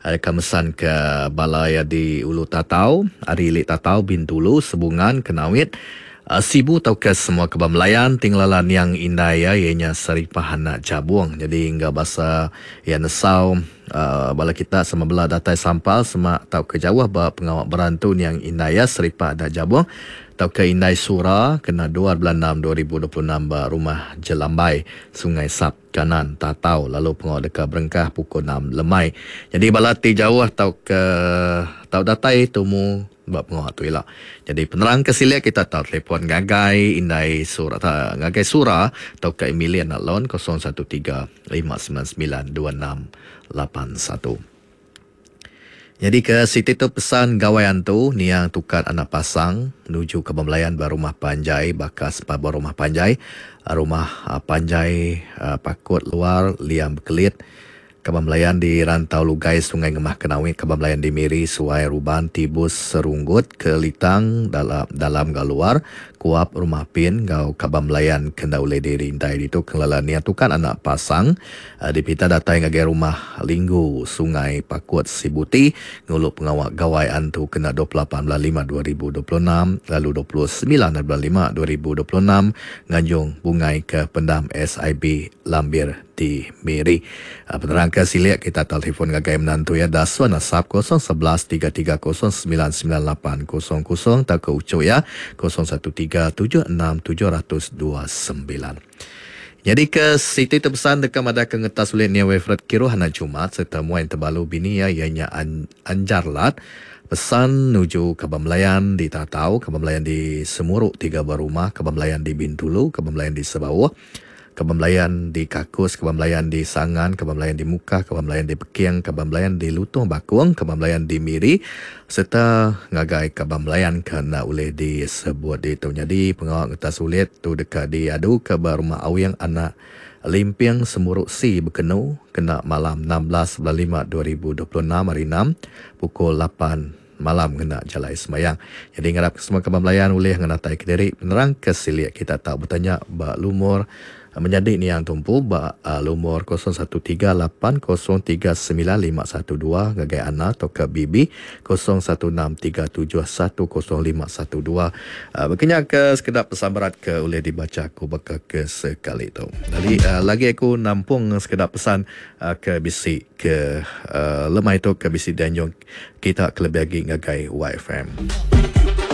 Deka mesan ke bala iya di Ulu Tatau, ari Ili Tatau, Bintulu, Sebungan, Kenawit, Sibu tauka semua keba Melayan ti ngelala niang indai iya iya nya Saripah anak Jabong. Nyadi enggau basa iya nesau bala kita sama bela datai sampal semak tauka jauh ba pengawa berantu niang indai iya Saripah anak Jabong tauka Indai Sura kena dua bulan enam 2026 ba Rumah Jelambai, Sungai Sap. Kanan, Tatau lalu pengawa deka berengkah pukul enam lemai. Nyadi bala ti jauh tauka tau datai tumu ba pengawa tu ila. Nyadi penerang ke silik kita tau telefon ngagai indai Sura ngagai Sura tauka Emilia Anak Lon 013 599 2681. Nyadi ke siti tu pesan Gawai Antu niang Tukat Anak Pasang nuju ke bemelayan ba rumah panjai baka sempat ba rumah panjai rumah panjai Pakut Luar Liang Bekelit Kaban Belayan di Rantau Lugai Sungai Ngemah Kenawit Kaban Belayan di Miri Suai Ruban Tibus Serunggut Kelitang dalam dalam enggau luar Kuap Rumah Pin enggau Kaban Belayan ke enda ulih dirintai ditu ke ngelala niang Tukat Anak Pasang. Dipinta datai ngagai Rumah Linggu, Sungai Pakut, Sibuti ngulu pengawa Gawai Antu kena 28 bulan lima 2026 lalu 29 bulan lima 2026 nganjung bungai ke Pendam SIB Lambir di Miri. Penerang ke silik kita telefon ngagai menantu iya Dasun Asap 011 3 3 0 9 9 8 0 0 tauka uchu iya 013 7 6 729. Nyadi ke siti tu pesan deka madahka ngetas ulih Nia Wilfred Kiruh anak Jumat sereta muai entebalu bini iya iya nya Anjar Lat. Pesan nuju kaban belayan di Tatau, kaban belayan di Semuru tiga buah rumah, kaban belayan di Bintulu, kaban belayan di Sebauh, kaban belayan di Kakus, kaban belayan di Sangan, kaban belayan di Mukah, kaban belayan di Peking, kaban belayan di Lutong Bakong, kaban belayan di Miri sereta ngagai kaban belayan ke enda ulih disebut ditu. Nyadi pengawa ngetas ulit. Tu deka diaduka ba Rumah Awing Anak Limping Semuru Si Bekenu kena malam 16 bulan lima 2026 hari Enam pukul lapan malam ngena jalai sembayang. Nyadi ngarapka semua kaban belayan ulih ngenataika diri penerang ke silik kita tau betanya ba lumur Menyadi niang tu empu ba lumur 0138039512 ngagai Ana tauka Bibi 0163710512. Baka nya ke sekeda pesan berat ke ulih dibacha aku baka ke sekali tu. Lalu lagi aku nampung sekeda pesan ke bisi ke lemai tu ke bisi dianjung kita kelebih agi ngagai YFM.